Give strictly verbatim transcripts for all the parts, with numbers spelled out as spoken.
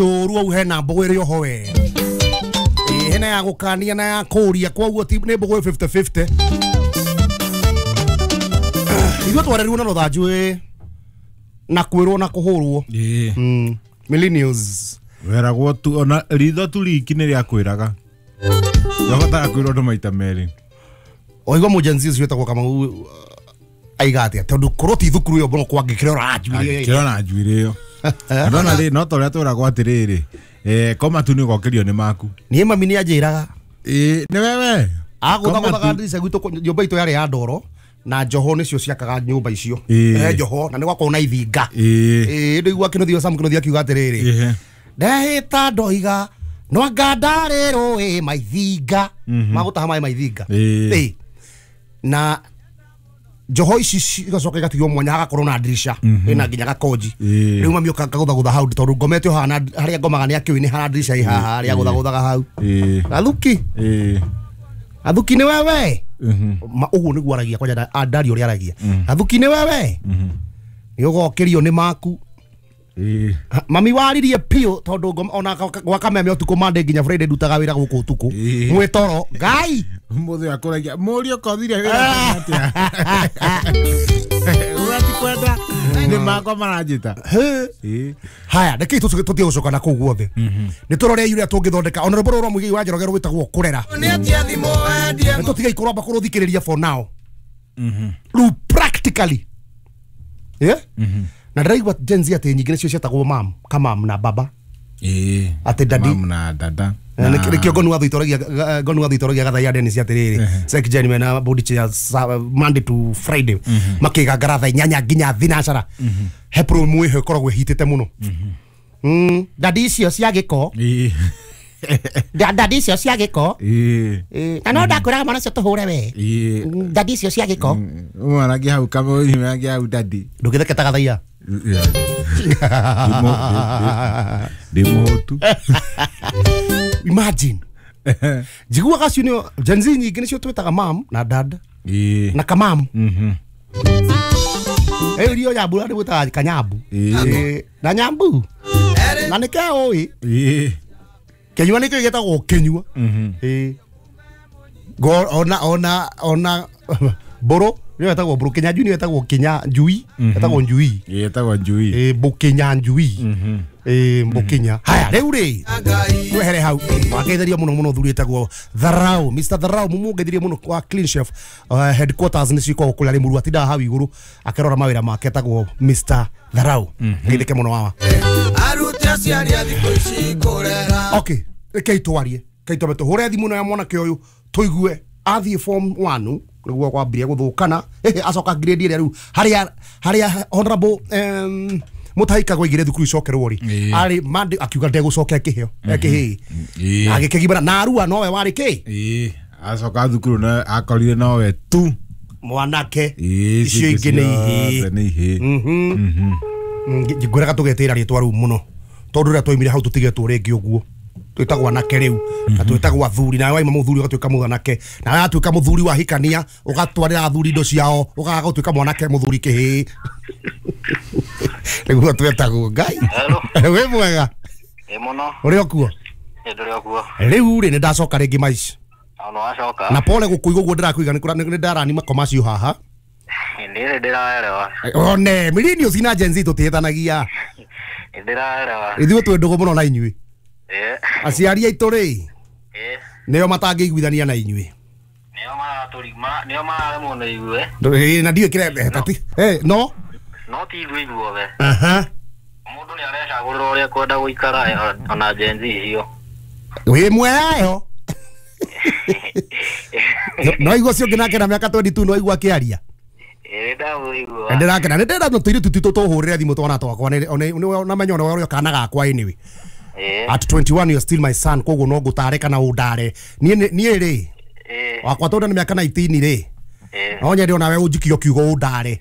Njũru au hena mbũgũ ĩrĩ oho we. Ĩ hena ya gũkania na ya kũria koguo ti nĩ mbũgũ fifty fifty. Ithuĩ twarerirwo na rũthanju ĩ na kwĩrwo na kũhũrwo. Ĩĩ. Mm. Millennials. Weragwo tu ona ritho tu riki nĩ rĩakwĩraga. Yabatara kwĩrwo andũ maita merĩ. Oigua mu Gen Z ũcio wĩtagwo Kamau aiga atĩa tondũ korwo ti thukuru ĩyo mũno kwangĩkĩra ũranjuĩrĩ. Kĩrona na njuĩrĩ ĩyo. Ndona rĩ no ta ũrĩa twĩragwo atĩrĩrĩ eh koma tu nĩ ũgokĩrio nĩ maku. Niĩ mami nĩ anjĩraga. Ĩĩ nĩ wewe. Agũthagũthaga ndirica gwitũ nyũmba itũ yarĩ ya ndoro na njoho nĩcio ciakaga nyũmba icio. Ĩĩ. Eh njoho na nĩ gwakorwo na ithinga. Ĩĩ. Ĩĩ ndĩigua Kĩnuthia Sam Kĩnuthia akiuga atĩrĩrĩ. Ĩhĩ. Ndehĩta ndoiga no anga ndarĩ rũĩ maithinga magũtaha maĩ maithinga. Ĩĩ. Ĩĩ. Na njoho ici cigacoka igatigwo mwanya hagakorwo na ndirica ĩna nginya gakonji. Ĩĩ. Rĩu mami ũka kagũthagũtha hau tondũ ngomete o haha na harĩa ngomaga nĩ akĩũĩ nĩ hara ndirica ĩ haha harĩa agũthagũthaga hau. Ĩĩ. Gathuki. Ĩĩ. Gathuki nĩ wewe. Mhm. Ma ũguo nĩguo aragia kwanja ndari ũrĩa aragia. Gathuki nĩ wewe. Mhm. Nĩ ũgokĩrio nĩ maku. Ĩĩ. Ha, mami waririe piũ tondũ ngoma- ona gwa kameme ũtukũ Monday nginya Friday ndutaga wĩra gũkũ ũtukũ. Ĩĩ. Mwĩ toro Ngai. Mũthĩ akũragia mũriũ kothire wĩra atĩa. Ũrati kwenda nĩ makwa maranjĩta. Hĩ. Ĩĩ. Haya rekei tũtige gũcoka na kũu guothe. Nĩ tũrore ũrĩa tũngĩthondeka ona rwĩmbo rũrũ rwa Mũigai wa Njoroge rwĩtagwo kũrera. Nĩ tũtige kũrwamba kũrũthikĩrĩria for now. Rĩu practically. Yeah? Na ndĩraigua Gen Z atĩ nyingĩ nĩcio ciĩtagwo mam, kamam na baba. Ĩĩ. Atĩ daddy. Mam na dada. Na nĩkĩo ngonu wa Thuitoragia ngonu wa Thuitoragia gathaia Dennis atĩrĩrĩ Sek Jen mena body chair Monday to Friday makĩgangara thaa inyanya nginya thinacara he promo ĩho ĩkoragwo ĩhitĩte mũno. Mm, dadi icio cia gĩko. Ĩĩ. Dadi icio cia gĩko. Ĩĩ. Ĩĩ, na no ndakwĩraga mwana ũcio tũhũre we. Ĩĩ. Dadi icio cia gĩko. Mwanake hau kama mwanake hau daddy. Ndũgĩtheke ta gathaia. Ndĩ mũhũtu. Imagine. Njiguaga acio nĩo Gen Z nyingĩ nĩcio twĩtaga mam na dad Ĩĩ. na kamam. Mhm. Ĩyo irio nyambu na ndĩmwĩtaga kanyambu. Ĩĩ. Ĩĩ, na nyambu. Na nĩ keũĩ. Ĩĩ. Kĩnyua nĩkĩo gĩtagwo kĩnyua. Mhm. Ĩĩ. Go ona ona ona mbũrũ nĩyo ĩtagwo mbũrũ kĩnyanjui nĩyo ĩtagwo kĩnyanjui ĩtagwo njui. Ĩĩ ĩtagwo njui. Ĩĩ mbũkĩnyanjui. Mhm. Ĩĩ mbũkĩnya. Haya rĩu rĩ twehere hau wagetheria mũno mũno thuri ĩtagwo Tharau Mister Tharau mumugetherie mũno kwa Clean Chef uh, headquarters nĩ cikoragwo kũrĩa Rĩmuru atindaga hau igũrũ akĩrora mawĩra make etagwo Mister Tharau. Geithĩke mũno wawa. Arute aciari a thikũ ici kũrera. Okay, rekei twarie rekei twambe tũhũre thimũ ya mwanake ũyũ tũigue athiĩ form one nĩguo kwambirie gũthũkana acoka grade ĩrĩa rĩu harĩa harĩa honorable um, Mutahi Kagwe aigire thukuru icokerwo rĩ Ĩĩ. arĩ Monday akiuga ndegũcoka kĩheo kĩhĩĩ Ĩĩ. agĩkĩgimara na Arua nowe warĩ kĩ Ĩĩ. Acoka thukuru na akorire nowe tu. mwanake Ĩĩ icio ingĩ nĩ ihĩĩ. nĩ ihĩĩ. Mhm. Ngwĩraga tũgetĩra rĩtwa rĩu mũno tondũ rĩrĩa twaumire hau tũtigetwo rĩngĩ ũguo twĩtagwo anake rĩu na twĩtagwo athuri nawe waima mũthuri ũgatuĩka mũthanake nawe watuĩka mũthuri wahikania ũgatwarĩra athuri indo ciao ũkaga gũtuĩka mwanake mũthuri kĩhĩĩ nĩguo twetagwo Ngai. Hello. Wĩ mwega Ĩ mũno. ũrĩ okuo Ĩ ndũrĩ okuo. rĩu rĩ nĩ ndacoka rĩngĩ maica Ona wacoka. na pole gũkũigua ũguo ndĩrakũiga nĩ ndarani makoma macio haha Nĩ ndĩraelewa. one millennials na Gen Z tũtihĩtanagia Nĩ ndĩraelewa. ithuĩ twĩ ndũgũ mũno na inyuĩ Ĩ. aciari aitũ rĩ Ĩ. nĩo matangĩiguithania na inyuĩ Nĩo maratũrima, nĩo mararemwo nĩ ithuĩ. Ndũ- na ndiũĩ kĩrĩa tati eh no No ti ithuĩ ithuothe. aha Mũndũ nĩ arecagũrĩra ũrĩa ekwenda gũikara ona Gen Z icio. wĩ mweyo no igua ũcio ũngĩ nake na mĩaka twenty two no igua akĩaria Ĩ ndamũigua. ndĩrakena nĩ ndĩrenda tũirĩtu twitũ tũhũrĩre thimũ twana twakwa namenya ona ũrĩa kana gakwa anyway Ĩ. at twenty one you're still my son koguo no ngũtare kana ũndare niĩ niĩ rĩ Ĩ. wakwa tondũ nĩ mĩaka nineteen rĩ Ĩ. no nyende onawe ũnjikie kiugo ũndare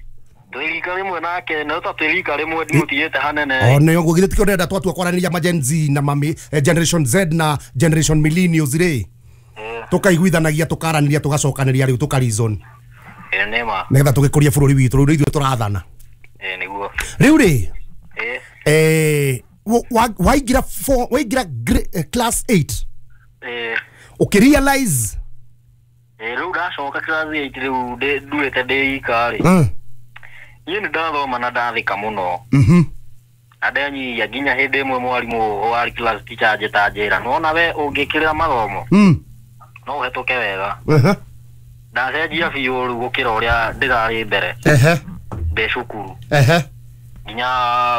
Twĩ rika rĩmwe nake no ta twĩ rika rĩmwe ndimũtigĩte hanene. one ũguo githĩ tikĩo ndĩrenda twatua kwaranĩria ma Gen Z na mami generation Z na generation millennials rĩ Ĩ. tũkaiguithanagia tũkaranĩria tũgacokanĩria rĩu tũka reason Ĩ nĩ ma. nĩgetha tũgĩkũrie bũrũri witũ rĩu nĩ ithuĩ tũrathana Ĩ nĩguo. rĩu rĩ Ĩ. eh Waingĩra waingĩra class eight. Ĩĩ. Ũkĩrealize. Ĩĩ rĩu ndacoka class eight rĩu nduĩte ndĩ ika rĩ. Niĩ nĩ ndathoma na ndathĩka mũno. Mhm. Na ndenyihia nginya hĩndĩ ĩmwe mwarimũ warĩ class teacher anjĩta njĩra nĩwona we ũngĩkĩrĩra mathomo Mm. no ũhetũke wega. Ehe. Ndacenjia biũ rĩu gũkĩra ũrĩa ndĩrarĩ mbere. Ehe. Ndĩ cukuru. Ehe. Nginya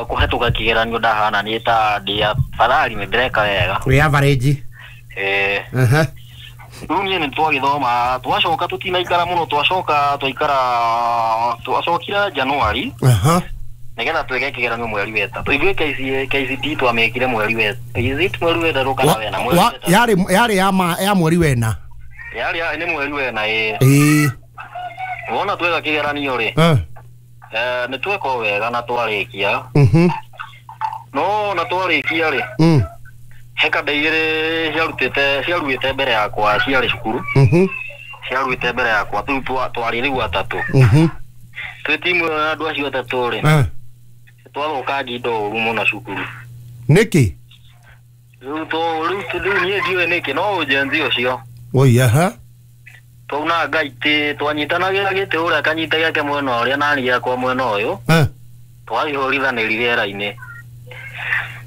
kũhetũka kĩgeranio ndahana niĩ ta ndĩ afadhali nĩ ndĩreka wega. Wĩ average. Ĩĩ. Ehe. Rĩu niĩ nĩ twagĩthoma twacoka tũtinaikara mũno twacoka twaikara twacokire January. Aha. Nĩgetha twĩke kĩgeranio mweri wa ĩtatũ. Ithuĩ K C P twamĩkire mweri wa is it mweri wa ĩtatũ kana wena? Mweri wa ĩtatũ. Yarĩ yarĩ ya ma ya mweri wena. Yarĩ nĩ mweri wena ĩĩ. Ĩĩ. Wona tweka kĩgeranio rĩ. Eh. Eh nĩ tweka wega na twarĩkia. Mhm. No na twarĩkia rĩ. Mm. He kanda igĩrĩ ciarutĩte ciaruĩte mbere yakwa ciarĩ cukuru. Mhm. Ciaruĩte mbere yakwa rĩu twarĩ rĩu atatũ. Mhm. Twĩ timu ya andũ acio atatũ rĩ. Eh. Twathũkangia indo ũru mũno cukuru. Nĩkĩ? Rĩu to rĩu rĩu niĩ ndiũĩ nĩkĩ no ũjenzi ũcio. Oi aha. Twaunanga itĩ twanyitanagĩra gĩtĩ ũrĩa akanyita gĩake mwena ũrĩa nani gĩakwa mwena ũyũ. Eh. Twagĩhũrithanĩria rĩera-inĩ.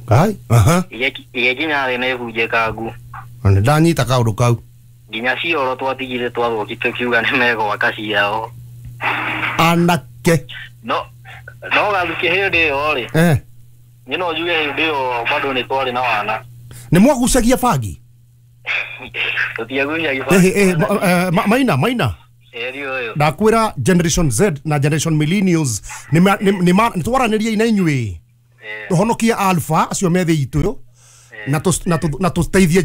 Ai, aha. Igĩkinya thĩ na ĩbunjĩkangu. Na nĩ ndanyita kaũndũ kau. Nginya cioro twatigire twathũki tũkiuga nĩ megwaka ciao. Anake. No no gathuki hĩndĩ ĩyo rĩ. Eh. Niĩ no njuge hĩndĩ ĩyo bado nĩ twarĩ na wana. Nĩ mwagucagia bangi? Tũtiagucagia bangi. Eh eh maina maina. Ndakwĩra Generation Z na Generation Millennials nĩ nĩ twaranĩria na inyuĩ. Tũhonokie Alpha acio me thĩ itũ na na tũteithie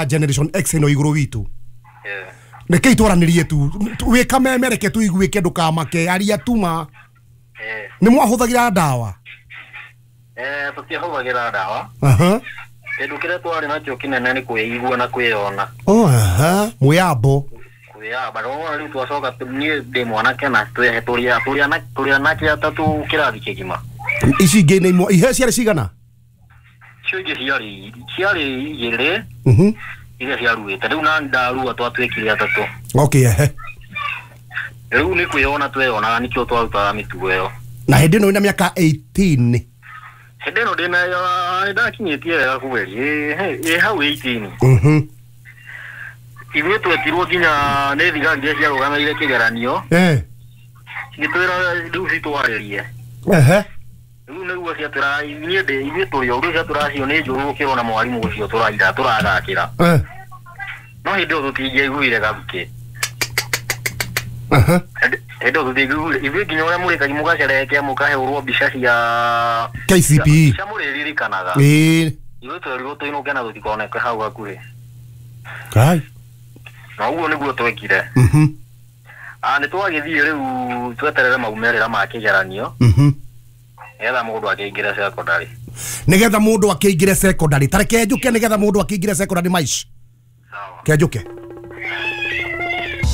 Generation X ĩno igũrũ witũ. Rekei twaranĩrie tu wĩ kameme reke tũiguĩke ndũkamake aria tuma. Nĩ mwahũthagĩra ndawa? Eh tũtiahũthagĩra ndawa. Aha. Kĩndũ kĩrĩa twarĩ nakĩo kĩnene nĩ kwĩigua na kwĩyona. Oh aha, mwĩyambo. Kwĩyamba no rĩu twacoka niĩ ndĩ mwanake na twĩ tũrĩ tũrĩ tũrĩ anake atatũ kĩrathi kĩgima. Ici ingĩ nĩ imwe ihe ciarĩ cigana? Icio ingĩ ciarĩ ciarĩ igĩrĩ. Mhm. Iria ciaruĩte rĩu na ndarua twatuĩkire atatũ. Okay ehe. Rĩu nĩ kwĩyona tweyonaga nĩkĩo twarutaga mĩtugo ĩyo. Na hĩndĩ ĩno wĩna mĩaka eighteen. Hĩndĩ ĩno ndĩna ndakinyĩtie wega kweli ĩ hau eighteen. Mhm. Ithuĩ twetirwo nginya nĩ thigari iria ciarũgamĩrĩire kĩgeranio. Eh. Cigĩtwĩra rĩu citwarĩrie. Ehe. Rĩu nĩguo ciatwĩra niĩ ndĩ ithuĩ tũrĩ o rĩu ciatwĩra acio nĩ njũru gũkĩrwo na mwarimũ ũcio tũraira tũrathakĩra. Eh. No hĩndĩ ĩyo tũtingĩaiguire gathuki. Aha. Hĩndĩ ĩyo tũtingĩaiguire ithuĩ nginya ũrĩa mũrĩkagia mũgacerekea mũkahũrwo mbica cia K C P E. Cia mũrĩririkanaga. Ĩĩ. Ithuĩ twerirwo tũinũke na tũtikoneke hau hakuhĩ. Kai. Na ũguo nĩguo twekire. Mhm. Ah nĩ twagĩthiĩ rĩu tweterere maumĩrĩra ma kĩgeranio. Mhm. Nĩgetha mũndũ akĩingĩre secondary. Nĩgetha mũndũ akĩingĩre secondary. Ta reke njũke nĩgetha mũndũ akĩingĩre secondary maish. Sawa. Ke njuke.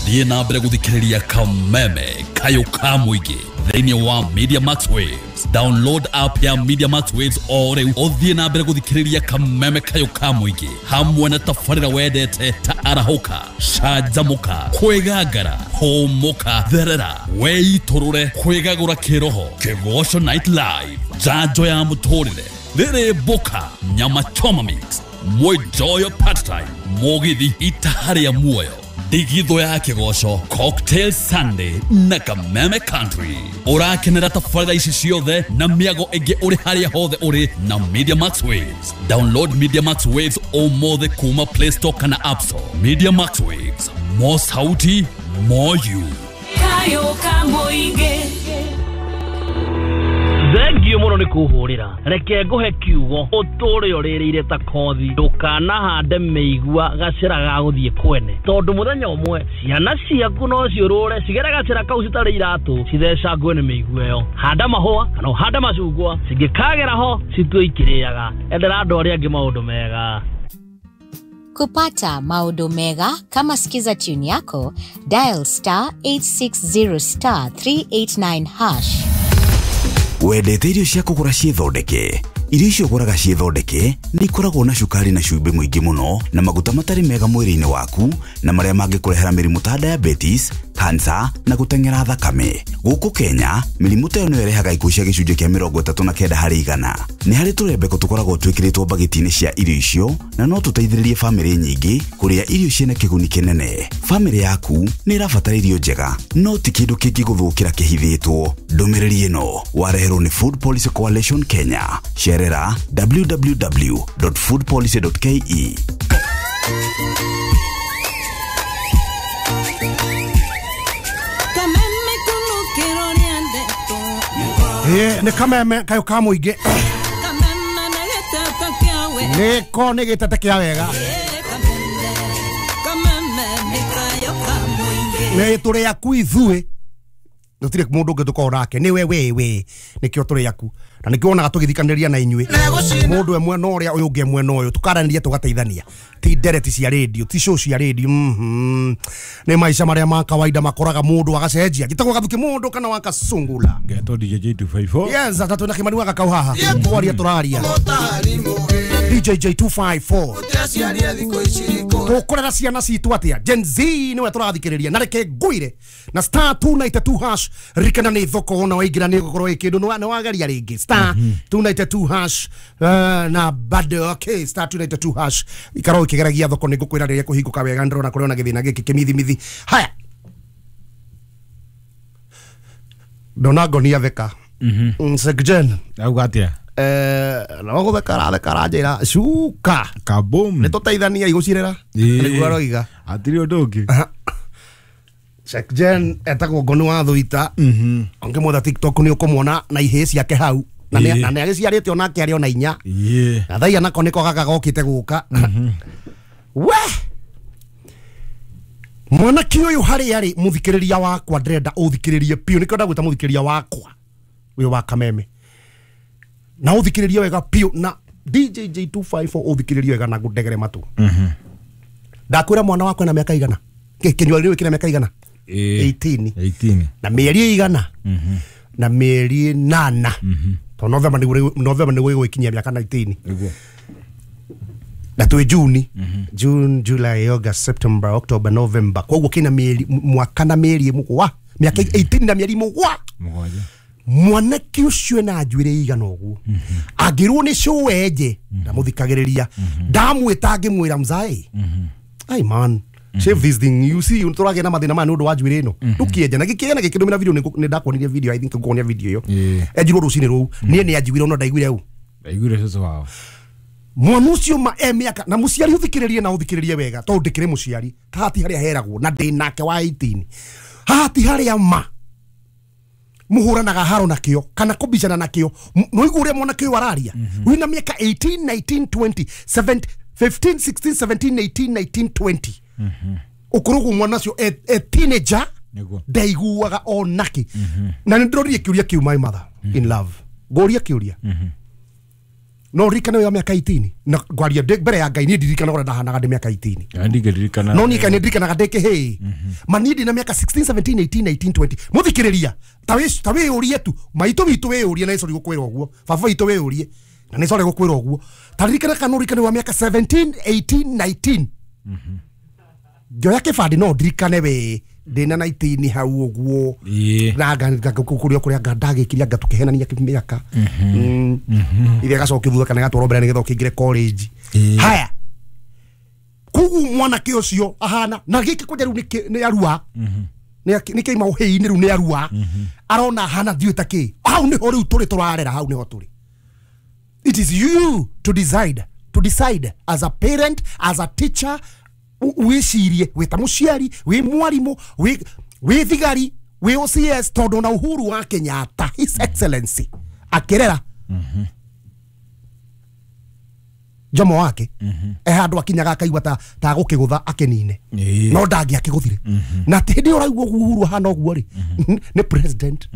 Thiĩ na mbere gũthikĩrĩria Kameme Kayũ ka mũingĩ thĩinĩ wa Media Max Waves. Download app ya Media Max Waves o rĩu ũthiĩ na mbere gũthikĩrĩria Kameme Kayũ ka mũingĩ hamwe na tabarĩra wendete ta arahũka, canjamũka, kwĩgangara, hũmũka, therera, weitũrũre, kwĩgagũra kĩroho, Kĩgoco Night Live, njanjo ya mũtũrĩre, rĩrĩ mboka, nyama choma mix, mwenjoyo part time, mũgithi itaha rĩa muoyo, ndigithũ ya kĩgoco, Cocktail Sunday na Kameme Country. Ũrakenera tabarĩra ici ciothe na mĩago ĩngĩ ũrĩ harĩa hothe ũrĩ na Media Max Waves. Download Media Max Waves ũmũthĩ kuma Play Store kana App Store. Media Max Waves, more sauti, more you. Kayo ka mũingĩ. Thengio mũno nĩ kũhũrĩra reke ngũhe kiugo ũtũre ũrĩrĩire ta kothi ndũkanahande mĩigua gacĩra ga gũthiĩ kwene tondũ mũthenya ũmwe ciana ciaku no ciũrũre cigere gacĩra kau citarĩ iratũ cithecangwe nĩ mĩigua ĩyo. Handa mahũa kana ũhande macungwa cingĩkagera ho citue ikĩrĩaga. Endera andũ arĩa angĩ maũndũ mega. Kupata maũndũ mega kama Skiza tune yako, dial star eight six zero star three eight nine hash. Wendete irio cia kũgũra ciĩthondeke Irio icio ũgũraga ciĩthondeke nĩ ikoragwo na cukari na cumbĩ mũingĩ mũno na maguta matarĩ mega mwĩrĩ-inĩ waku na marĩa mangĩkũrehera mĩrimũ ta diabetes, cancer na gũteng'era thakame. Gũkũ Kenya, mĩrimũ ta ĩyo nĩyo ĩrehaga ikuũ cia gĩcunjĩ kĩa mĩrongo ĩtatũ na kenda harĩ igana. Nĩ harĩ tũrembeko tũkoragwo twĩkĩrĩtwo mbagĩti-inĩ cia irio icio na no tũteithĩrĩrie bamĩrĩ nyingĩ kũrĩa irio ciĩna kĩguni kĩnene. Bamĩrĩ yaku nĩ ĩrabatara irio njega, no ti kĩndũ kĩngĩgũthũkĩra kĩhithĩtwo. Ndũmĩrĩri ĩno wareherwo nĩ Food Policy Coalition Kenya. Cerera w w w dot food policy dot k e. Eh, nĩ kameme kayo ka mũingĩ. Nĩko nĩ gĩtete kĩa wega. Nĩ tũrĩ aku ithuĩ. Gũtirĩ mũndũ ũngĩ tũkorwo nake nĩ we we we nĩkĩo tũrĩ aku na nĩkĩo wonaga tũgĩthikanĩria na inyuĩ mũndũ e mwena ũrĩa ũyũ ũngĩ e mwena ũyũ tũkaranĩria tũgateithania ti ndereti cia radio ti show cia radio mhm nĩ maica marĩa ma kawaida makoraga mũndũ agacenjia gĩtagwo gathuki mũndũ kana wakacungula ngetwo D J J two five four yes atatũ na Kimani wa Gakau haha twaria tũraria D J J two five four tũkũrera ciana citũ atĩa Gen Z nĩwe tũrathikĩrĩria na reke ngwĩre na star two nine two hash ririkana nĩ thoko wona waingĩra nĩ gũkorwo ĩ kĩndũ nĩ wageria rĩngĩ star two nine two hash uh, na bado okay star two nine two hash ikarwo ikĩgeragia thoko nĩ ngũkwĩra rĩrĩa kũhingũka wega ndĩrona kũrĩ ona gĩthĩna gĩkĩ kĩmithimithi haya ndona ngonia theka mm Sekjen auga atĩa eh no gutheka ratheka ranjira cuka kabum nĩ tũteithania igũcirera nĩguo aroiga hatirĩ ũndũ ũngĩ Sekjen etagwo Ngoni wa Thuita ũngĩmwetha TikTok nĩ ũkũmuona na ihĩĩ ciake hau na nĩ agĩciarĩte onake arĩ ona inya na thaia nako nĩko gaka gokĩte gũka we mwanake ũyũ harĩa arĩ mũthikĩrĩria wakwa ndĩrenda ũthikĩrĩrie biũ nĩkĩo ndagwĩta mũthikĩrĩria wakwa ũyũ wa Kameme na ũthikĩrĩrie wega biũ na D J J two five four ũthikĩrĩrie wega na ngũndegere matũ ndakwĩra mwana wakwa ena mĩaka igana kĩnyua rĩu kĩna mĩaka igana eighteen eighteen na mĩeri igana na mĩeri ĩnana to November nĩguo November nĩguo ĩgũkinyia mĩaka nineteen na twĩ June June July August September October November koguo kĩna mĩeri mwaka na mĩeri mũgwa mĩaka eighteen na mĩeri mũgwa mũgwanja mwanake ũcio ena njuĩrĩ igana ũguo angĩrwo nĩ cũenje ndamũthikagĩrĩria ndamwĩta ngĩmwĩra mzae ai man shave this thing you see tũragĩa na mathĩna maya nĩ ũndũ wa njuĩrĩ ĩno ndũkĩenja na gĩkĩenja na gĩkĩndũmĩra video nĩ ndakuonirie video I think nguonia video ĩyo enjirwo rũcinĩ rũu niĩ nĩ anjiguire no ndaiguire u ndaiguire cũcũ wao mwana ũcio ma e mĩaka na mũciari ũthikĩrĩrie na ũthikĩrĩrie wega tondũ ndĩkĩrĩ mũciari haha ti harĩa heragwo na ndĩ nake wa eighteen haha ti harĩa ma muhuranaga haro nakio kana kubicana nakio no igure mwanake ũyũ araria wina miaka eighteen nineteen twenty fifteen sixteen seventeen eighteen nineteen twenty ũkũrũgwo mwana ũcio e teenager ndaiguaga onake na nĩ ndĩroririe kĩũria kĩu my mother in love ngũria kĩũria no ririkane wa miaka eighteen na ngwaria mbere ya Ngai niĩ ndirikanaga ũrĩa ndahanaga ndĩ miaka eighteen ndingĩririkana no niĩ ndirikanaga ndĩ kĩhĩĩ ma niĩ ndĩ na miaka sixteen seventeen eighteen nineteen twenty mũthikĩrĩria ta wĩ ta wĩyũrie tu maitũ witũ wĩyũrie na nĩ sorry gũkwĩra ũguo baba witũ wĩyũrie na nĩ sorry gũkwĩra ũguo ta ririkana kana ũririkane wa miaka seventeen eighteen nineteen ngĩoya kĩbandĩ no ndirikane we ndĩna nineteen hau ũguo na kũrĩa kũrĩa anga ndagĩkirie anga tũkĩhenania mĩaka ithe agacokia thutha kana gatwarwo mbere nĩgetha ũkĩingĩre college haya koguo mwanake ũcio ahana na gĩkĩ kwanja rĩu nĩ arua nĩ kĩima ũhĩi-inĩ rĩu nĩ arua arona ahana ndiũĩ ta kĩ hau nĩho rĩu tũrĩ tũrarera hau nĩho tũrĩ it is you to decide to decide as a parent as a teacher wĩcirie wĩ ta mũciari wĩ mwarimũ wĩ thigari wĩ O C S tondũ na Uhuru wa Kenyatta His Excellency akĩrera Jomo wake e handũ akinyaga akaigua ta ta gũkĩgũtha akĩnine no ndangĩakĩgũthire na hĩndĩ ĩyo ũraigua ũguo Uhuru ahana ũguo rĩ nĩ president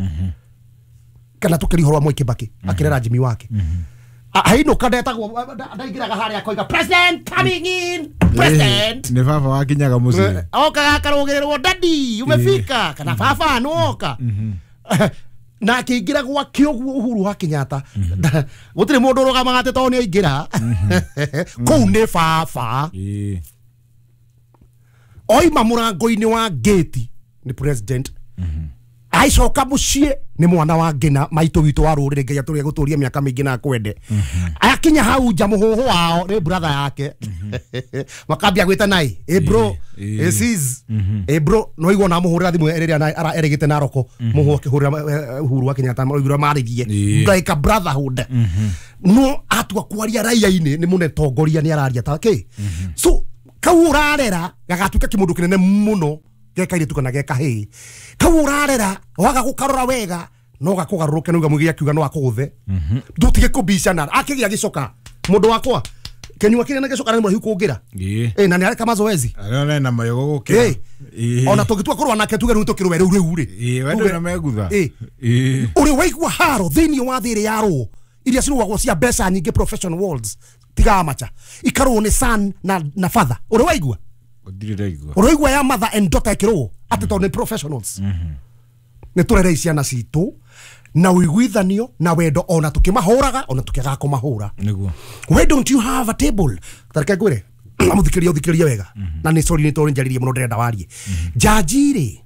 kana tũkĩria ũhoro wa Mwai Kibaki akĩrera Jimmy wake hainũka ndetagwo ndaingĩraga harĩa akoiga president coming in president nĩ baba wakinyaga mũciĩ okaga akarũgĩrĩrwo daddy umefika kana baba nĩwoka Na akĩingĩra gwake ũguo Uhuru wa Kenyatta gũtirĩ mũndũ ũrũgamaga atĩ tondũ nĩ aingĩra kũu nĩ baba oima mũrango-inĩ wa gate nĩ president aicoka mũciĩ nĩ mwana wa ngina maitũ witũ wa rũrĩrĩ Ngai atũrĩa gũtũria mĩaka mĩingĩ na akwende akinya hau nja mũhũhũ wao nĩ brother yake makambia gwĩta nai ĩ bro ĩ sis ĩ bro no igua na mũhũrĩra thimũ ĩrĩa erĩgĩte Naroko mũhũhũ akĩhũrĩra Uhuru wa Kenyatta maigua marĩrie like a brotherhood no atua kwaria raia-inĩ nĩ mũne tongoria nĩ araria ta kĩ so kau ũrarera gagatuĩka kĩmũndũ kĩnene mũno geka iritu kana geka hĩ kau ũrarera waga gũkarora wega no gakũgarũrũke nĩ uga mũgĩ akiuga no akũgũthe ndũtige kũbicana akĩgĩa gĩcoka mũndũ wakwa kenyua kĩrĩa na gĩcoka nĩ mũraihu kũngĩra ĩ na nĩ areka mazoezi arĩa na mayogo gũkĩra ona tũngĩtua kũrũa nake tuge rĩu tũkĩrũe rĩu rĩu rĩ ĩ wendo na megutha ĩ ũrĩ waigua haro thĩinĩ wa thĩ ĩrĩa yarũo iria cirũagwo cia mbeca nyingĩ professional worlds tiga amacha ikarũo nĩ son na na father ũrĩ waigua ũrĩ ya mother and daughter ĩkĩrũo atĩ tondũ nĩ professionals nĩ tũrere ciana citũ na ũiguithanio na wendo ona tũkĩmahũraga ona tũkĩagaga kũmahũra nĩguo why don't you have a table tareke ngwĩre amũthikĩrĩria ũthikĩrĩrie wega na nĩ sorry nĩ tondũ njarĩrie mũno ndĩrenda warie jaji rĩ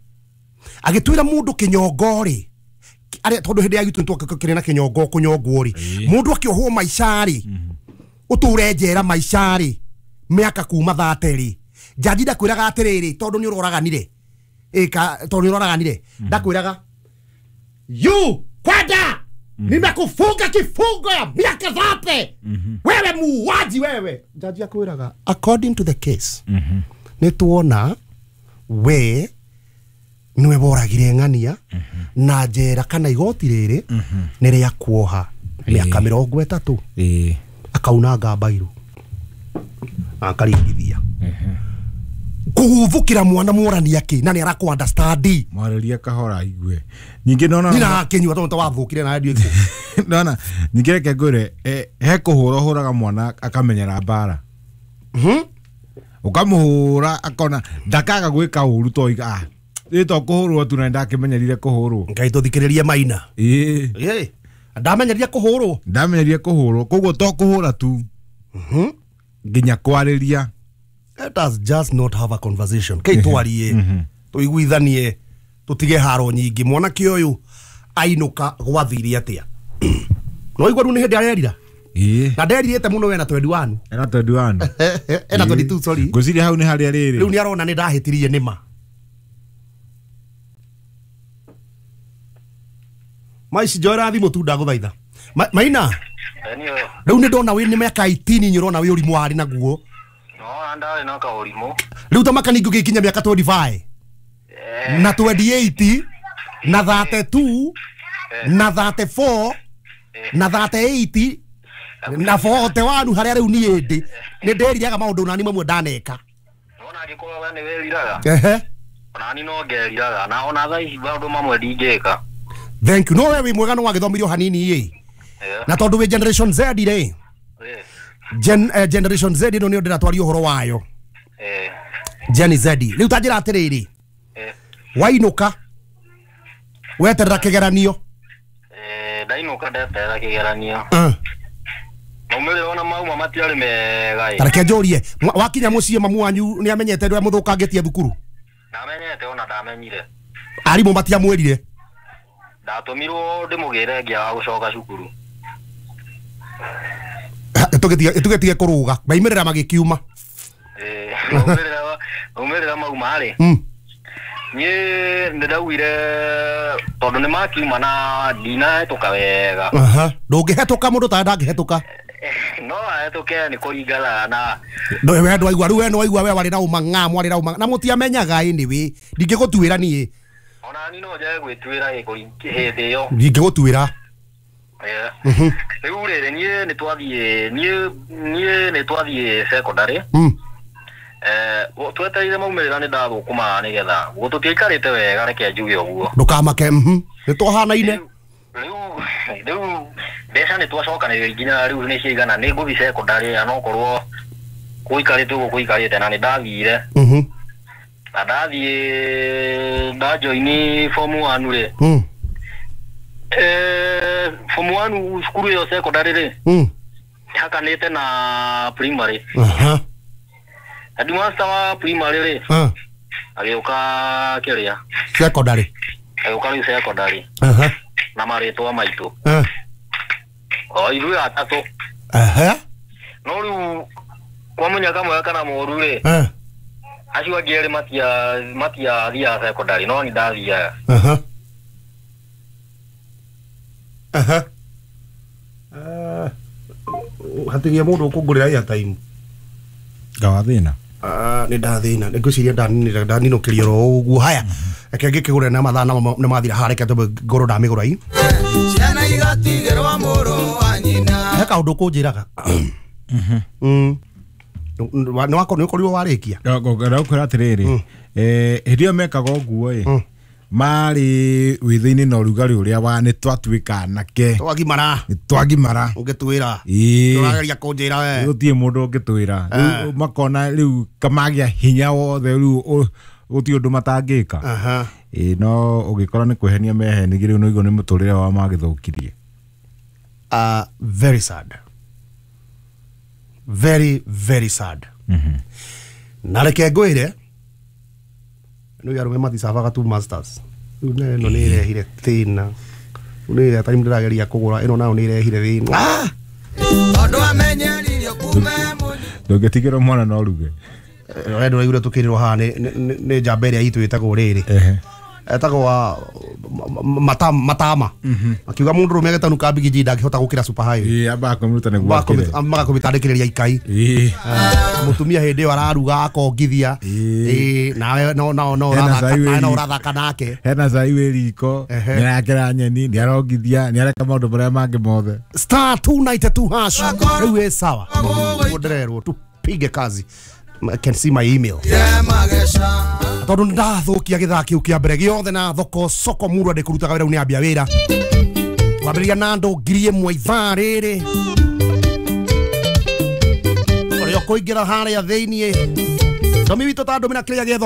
agĩtwĩra mũndũ kĩnyongo rĩ arĩa tondũ hĩndĩ ya gitũ nĩtwakĩrĩ na kĩnyongo kũnyongwo rĩ mũndũ akĩohwo maica rĩ ũtũre njera maica rĩ mĩaka kuma thate rĩ jaji ndakwĩraga atĩrĩrĩ tondũ nĩ ũroraganire ĩka tondũ nĩ ũroraganire ndakwĩraga you kwenda nimekufunga kifungo ya miaka thate wewe muuaji wewe jaji akwĩraga according to the case nĩ tuona we niwe woragire ng'ania na njera kana igoti rĩrĩ nĩ rĩa kuoha mĩaka mĩrongo ĩtatũ akaunanga mbairũ akaringithia kuguthukira mwana mworania ki na ni arakũ understand mwarĩrie kahora aigue nyingĩ nona nina kinyua tondu wathukire na radio iku nona nyingĩ reke ngwĩre he kũhũra ũhũraga mwana akamenyera mbara mhm ukamuhũra akona ndakaga gwĩka ũru to iga ah ĩ to kũhũrwo tu na ndakĩmenyerire kũhũrwo Ngai tũthikĩrĩrie maina ĩ ĩ ndamenyeria kũhũrwo ndamenyeria kũhũrwo koguo to kũhũra tu mhm nginya kwarĩria. Let us just not have a conversation. Kei twarie tuiguithanie tutige haro nyingi mwanake uyu ainuka gwathire atia no igwa ru ni hindi arerira ii na nderirite muno wena twenty-one ena twenty-one ena twenty-two sorry ngwiciria hau ni haria riri riu ni arona ni ndahitirie nima maici njoera thimu tu ndaguthaitha maina riu ni ndona wi ni miaka eighteen nyurona wi urimu wari naguo no ndari na kaurimu riu ta makani ngũgĩkinya mĩaka twenty-five na twenty-eight na thirty-two na thirty-four na thirty-eight na forty-one haria riu niĩ ndĩ nĩ ndĩriraga maũndũ nani mamwe ndaneka nona angĩkorwo we nĩ wĩriraga ehe onani no ngeriraga na ona thaa ici maũndũ mamwe ndingĩka. Thank you. No we wĩ mwega no wagĩthomirio hanini ĩ na tondũ wĩ generation Z rĩ Gen, eh, generation Z ĩno nĩyo ndĩratwaria ũhoro wayo eh Gen Z rĩu ta njĩra atĩrĩrĩ eh wainũka weterera kĩgeranio eh ndainũka ndeterera kĩgeranio uh. maumĩrĩra ona mauma matiarĩ mega ta reke njũrie wakinya mũciĩ mamu wanyu nĩ amenyete ndũrĩa mũthũkangĩtie thukuru ndamenyete ona ndamenyire arimũ matiamwĩrire ndatũmirwo ndĩmũgĩre ngĩaga gũcoka cukuru tugetige kuruga maimirira magikiuma eh maumirira maumirira mauma ri nie ndiraugire tondu ni makiuma na ndinahetũka wega aha ndũngĩhetũka mũndũ ta ndangĩhetũka no ahetũke nĩ kũringana na we ndwaigua rĩu we nĩwaigua we warĩ na ũmang'a mwarĩ na ũmang'a na mũtiamenyaga anyway ndingĩgũtuĩra niĩ ona ni no njage gwĩtuĩra hĩndĩ ĩyo ndingĩgũtuĩra rĩu rĩrĩ niĩ nĩ twathiĩ niĩ niĩ nĩ twathiĩ secondary eh twetereire maumĩrĩra nĩ ndathũkũma nĩgetha tũtiaikarĩte wega reke njuge ũguo ndũkamake nĩ twahanaine rĩu rĩu mbeca nĩ twacokanĩrĩria nginya rĩu nĩ ciaigana nĩ ngũthiĩ secondary na nokorwo gũikarĩte ũguo gũikarĩte na nĩ ndathire na ndathiĩ ndajoini form one rĩ Eh form one cukuru ĩyo secondary rĩ. Mm. Hakanĩte na primary. Aha. Headmaster wa primary rĩ. Ah. Agĩũka kĩrĩa? Secondary. Agĩũka rĩu secondary. Aha. Na marĩtwa maitũ. Ah. O ithuĩ atatũ. Aha. No rĩu kwa mũnyaka mwega kana mũũru rĩ. Ah. Acio angĩ erĩ matia matiathiaga secondary no ni ndathiaga. Aha. Aha. Ah. Hatigia mũndũ ũkũngũrĩra airtime. Ngawathĩna. Ah, nĩ ndathĩna. Nĩ ngwĩciria ndaninĩra ndaninũkĩria oro ũguo. Haya. Reke ngĩkĩgũre na mathaa nĩ mathira haha reke tũmbe ngorwo ndamĩgũra i. Ciana igatigĩrwo mũrũ wa nyina. He kaũndũ ũkũnjĩraga. Mhm. Nĩ wakorwo nĩ ũkorirwo warĩkia. Ngũkwĩra atĩrĩrĩ, eh hĩndĩ ĩyo mekaga ũguo ĩ, marĩ wĩthĩ-inĩ na ũrugarĩ ũrĩa wa nĩ twatuĩka anake. Twagimara. Nĩ twagimara. Ũngĩtwĩra. Ĩĩ. Ũrageria kũnjĩra we. Gũtirĩ mũndũ ũngĩtwĩra. Rĩu makona rĩu kamagĩa hinya wothe rĩu gũtirĩ ũndũ matangĩka. Aha. Ĩĩ no ũgĩkora nĩ kwĩhenia mehenirie rĩu nĩguo nĩ mũtũrĩre wao magĩthũkirie. Ah, very sad. Very very sad. Mhm. Na reke ngwĩre nĩ arũme maticavaga two masters. Rĩu na ĩno nĩ ĩrehire thĩna. Rĩu nĩ ĩrĩa time ndĩrageria kũgũra ĩno nayo nĩ ĩrehire thĩna. Ah! Tondũ amenyeririo kume mũnyi. Ndũngĩtigĩrwo mwana no ruge. We ndũraigua tũkĩrĩrwo haha nĩ nĩ njamba ĩrĩa itũ ĩtagwo rĩrĩ. Ehe. Etagwo wa matama. Akiuga mũndũ rũme agĩtanuka mbigiji ndangĩhota gũkĩra super highway. Ĩĩ amba akũmĩruta nĩguo akĩre. Magakũmĩtandĩkĩrĩria ikai. Ĩĩ. Mũtumia hĩndĩ ĩyo araruga akongithia. Ĩĩ nawe no no no ũrathaka no ũrathaka nake. Hena cai wĩ riko, nĩarakera nyeni, nĩarongithia, nĩareka maũndũ marĩa mangĩ mothe. Star two ninety two hash. Rĩu ĩ sawa. Ndĩrerwo tupige kazi. I can see my email. Tondũ ndathukia githaa kiu kia mbere giothe na thoko soko murwa ndikurutaga wira ni ambia wira wambiriria na andu ngiri ĩmwe ithaa rĩrĩ ũrĩa ũkũingĩra harĩa thĩiniĩ ndomi witũ ta ndũmĩra kĩrĩa gĩetho